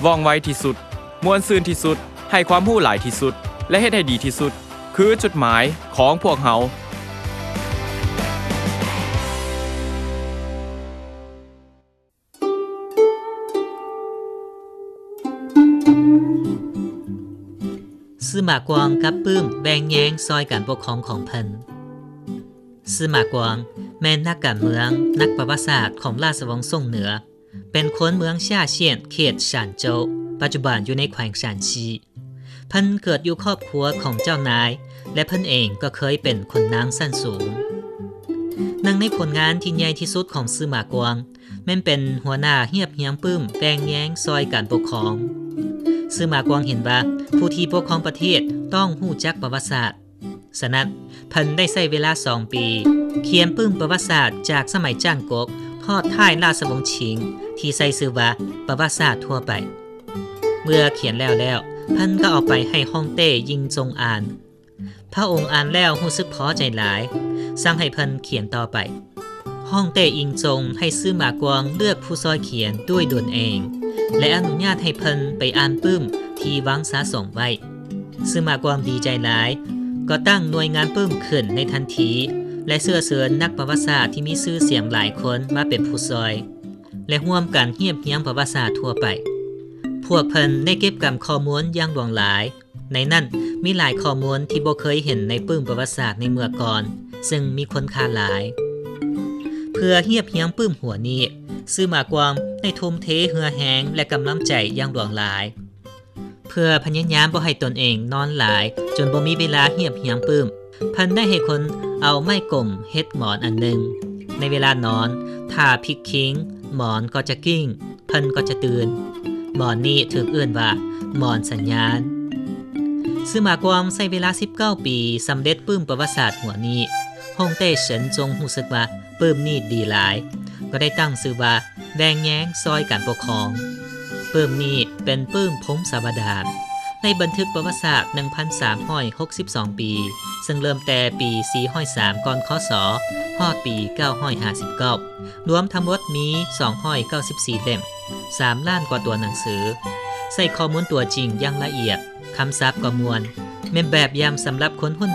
ວ່ອງໄວທີ່ສຸດ, ມ່ວນຊື່ນທີ່ສຸດ, ໃຫ້ຄວາມຮູ້ຫຼາຍທີ່ສຸດ ແລະ ເຮັດໃຫ້ດີທີ່ສຸດ ຄືຈຸດໝາຍຂອງພວກເຮົາ. ຊື່ໝາກວາງກັບປຶ້ມແບ່ງແຍງຊ່ອຍການປົກຄອງຂອງເພິ່ນ. ຊື່ໝາກວາງແມ່ນນັກການເມືອງ, ນັກປະຫວັດສາດຂອງລາຊະວົງສົງເໜືອ, ເປັນຄົນເມືອງຊາຊຽນ ເຂດຊານໂຈວ, ປັດຈຸບັນຢູ່ໃນແຂວງຊານຊີ. ເພິ່ນເກີດຢູ່ຄອບຄົວຂອງເຈົ້ານາຍ ແລະ ເພິ່ນເອງກໍເຄີຍເປັນຂຸນນາງຊັ້ນສູງ. ໜຶ່ງໃນຜົນງານທີ່ໃຫຍ່ທີ່ສຸດຂອງຊື່ໝາກວາງ ແມ່ນເປັນຫົວໜ້າຮຽບຮຽງປຶ້ມແບ່ງແຍງຊ່ອຍການປົກຄອງ. ຊື່ໝາກວາງເຫັນວ່າ ຜູ້ທີ່ປົກຄອງປະເທດຕ້ອງຮູ້ຈັກປະຫວັດສາດ. ສະນັ້ນ, ເພິ່ນໄດ້ໃຊ້ເວລາສອງປີ ຂຽນປຶ້ມປະຫວັດສາດຈາກສະໄໝຈາງກົກ ຮອດທ້າຍລາຊະວົງຊິງ ທີ່ໃຊ້ຊື່ວ່າ ປະຫວັດສາດທົ່ວໄປ. ເມື່ອຂຽນແລ້ວແລ້ວ, ເພິ່ນກໍເອົາໄປໃຫ້ຮ່ອງເຕ້ ຢິງຈົງອ່ານ. ພະອົງອ່ານແລ້ວຮູ້ສຶກພໍໃຈຫຼາຍ, ສັ່ງໃຫ້ເພິ່ນຂຽນຕໍ່ໄປ. ຮ່ອງເຕ້ ອິງຈົງ ໃຫ້ຊື່ໝາກວາງເລືອກຜູ້ຊ່ອຍຂຽນດ້ວຍຕົນເອງ ແລະ ອະນຸຍາດໃຫ້ເພິ່ນໄປອ່ານປຶ້ມທີ່ຫວັງສະສົມໄວ້. ຊື່ໝາກວາງດີໃຈຫຼາຍ, ກໍຕັ້ງໜ່ວຍງານປຶ້ມຂຶ້ນໃນທັນທີ ແລະ ເຊື້ອເຊີນນັກປະຫວັດສາດທີ່ມີຊື່ສຽງຫຼາຍຄົນມາເປັນຜູ້ຊ່ອຍ ແລະ ຮ່ວມກັນຮຽບຮຽງປະຫວັດສາດທົ່ວໄປ. ພວກເພິ່ນໄດ້ເກັບກຳຂໍ້ມູນຢ່າງຫຼວງຫຼາຍ, ໃນນັ້ນມີຫຼາຍຂໍ້ມູນທີ່ບໍ່ເຄີຍເຫັນໃນປຶ້ມປະຫວັດສາດໃນເມື່ອກ່ອນ, ເຊິ່ງມີຄຸນຄ່າຫຼາຍ. ເພື່ອຮຽບຮຽງປຶ້ມຫົວນີ້, ຊື່ໝາກວາງໄດ້ທຸ່ມເທເຫື່ອແຮງ ແລະ ກຳລັງໃຈຢ່າງຫຼວງຫຼາຍ. ເພື່ອພະຍາຍາມບໍ່ໃຫ້ຕົນເອງນອນຫຼາຍຈົນບໍ່ມີເວລາຮຽບຮຽງປຶ້ມ, ເພິ່ນໄດ້ໃຫ້ຄົນເອົາໄມ້ກົມເຮັດໝອນອັນໜຶ່ງ. ໃນເວລານອນ, ຖ້າພິກຄິງ, ໝອນກໍຈະກິ້ງ, ເພິ່ນກໍຈະຕື່ນ. ໝອນນີ້ຖືກເອີ້ນວ່າ ໝອນສັນຍານ. ຊື່ໝາກວາງໃຊ້ເວລາສິບເກົ້າປີ ສຳເລັດປຶ້ມປະຫວັດສາດຫົວນີ້. ຮ່ອງເຕ້ ເສີນຈົງ ຮູ້ສຶກວ່າປຶ້ມນີ້ດີຫຼາຍ, ກໍໄດ້ຕັ້ງຊື່ວ່າ ແບ່ງແຍງຊ່ອຍການປົກຄອງ. ປຶ້ມນີ້ເປັນປຶ້ມພົງສາວະດານ, ໄດ້ບັນທຶກປະຫວັດສາດໜຶ່ງພັນສາມຮ້ອຍຫົກສິບສອງປີ, ເຊິ່ງເລີ່ມແຕ່ປີສີ່ຮ້ອຍສາມ ກ່ອນ ຄ.ສ. ຮອດປີເກົ້າຮ້ອຍຫ້າສິບເກົ້າ, ລວມທັງໝົດມີສອງຮ້ອຍເກົ້າສິບສີ່ເຫຼັ້ມ, ສາມລ້ານກວ່າຕົວໜັງສື. ໃຊ້ຂໍ້ມູນຕົວຈິງຢ່າງລະອຽດ, ຄຳສັບກໍມ່ວນ, ແມ່ນແບບຢ່າງສຳລັບຄົນຮຸ່ນ